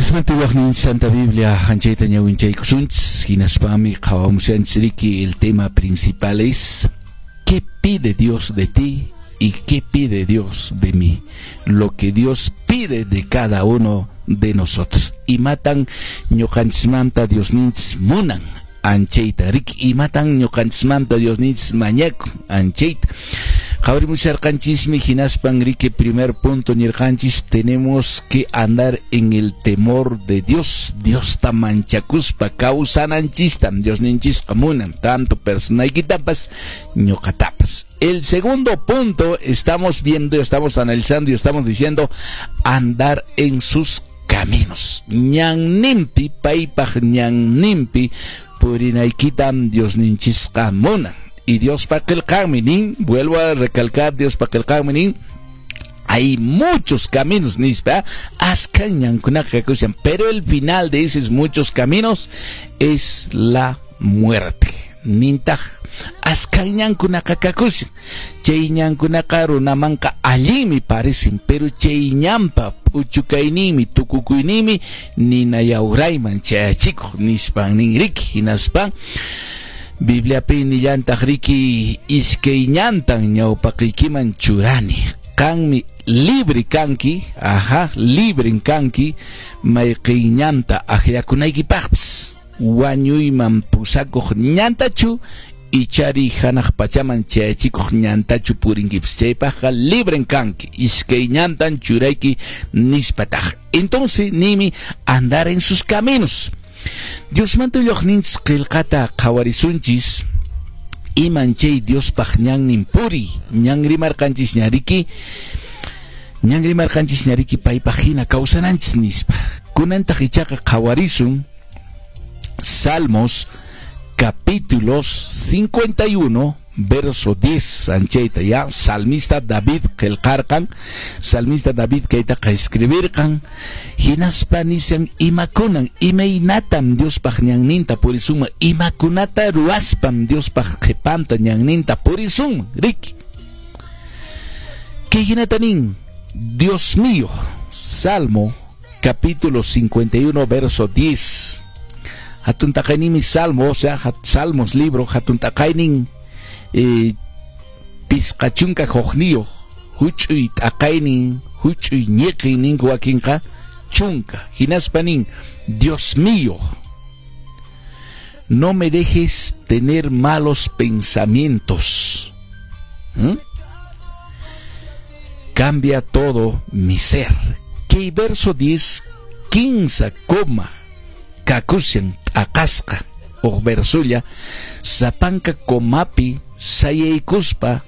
Diosmanta willaqnin Santa Biblia anchayta ñawinchaykusunchis, hinaspami qhawamushanchis riki. El tema principal es: ¿qué pide Dios de ti y qué pide Dios de mí? Lo que Dios pide de cada uno de nosotros. Imatan ñuqanchismanta Diosninchis munan anchayta riki, imatan ñuqanchismanta Diosninchis mañakun anchayta qhawarimusharqanchismi. Hinaspan riki, primer punto nirqanchis: tenemos que andar en el temor de Dios. Diosta manchakuspa kawsananchistam Diosninchisqa munan, tanto personaykitapas ñuqatapas. El segundo punto estamos viendo, estamos analizando y estamos diciendo: andar en sus caminos. Ñanninpi, paypaq ñanninpi purinaykitam Diosninchisqa munan. Y Diospa qillqanmi nin, vuelvo a recalcar, Diospa qillqanmi nin, hay muchos caminos nispa, askha ñankunaqa kakushan, pero el final de esos muchos caminos es la muerte. Nintaq, askha ñankunaqa kakushan, chay ñankunaqa runamanqa allinmi parecen, pero chay ñanpa p'uchukayninmi, tukukuyninmi nina yawrayman chayachikuq nispan nin riki. Hinaspan Bibliapi nillantaq riki: iskay ñantan ñawpaqiykiman churani, qanmi libre kanki, aja, libren kanki mayqin ñanta akllakunaykipaqpis, wañuyman pusakuq ñantachu ichari hanaq pachaman chayachikuq ñantachu purinkipis, chaypaqqa libren kanki, iskay ñantan churayki nispataq. Entonces nimi andar en sus caminos. Diosmanta willaqninchis qillqata qhawarisunchis, iman chay Diospaq ñannin puriy. Ñan rimarqanchis ña riki, ñan rimarqanchis ña riki paypaq hina kawsananchis nispa. Kunantaq ichaqa qhawarisun Salmos capítulos 51 verso 10 anchayta ya salmista David qillqarqan, salmista David kaytaqa escribirqan. Hinaspa nishan imakunan, imaynatam Diospaq ñanninta purisunman, imakunata ruwaspam Diospaq qhipanta ñanninta purisunman riki. Kay hinata nin: Dios mío, Salmo capítulo 51 verso 10. Hatun taqaynimi Salmo, o sea, Salmos libro hatun taqaynin 51, huch'uy t'aqaynin, huch'uy ñiqin ninku wakinqa, 10. Hinaspa nin: Dios mío, no me dejes tener malos pensamientos. Cambia todo mi ser. Kay verso 10, 15 coma kakushan t'aqasqa huk versolla, sapanka comapi sayaykuspa.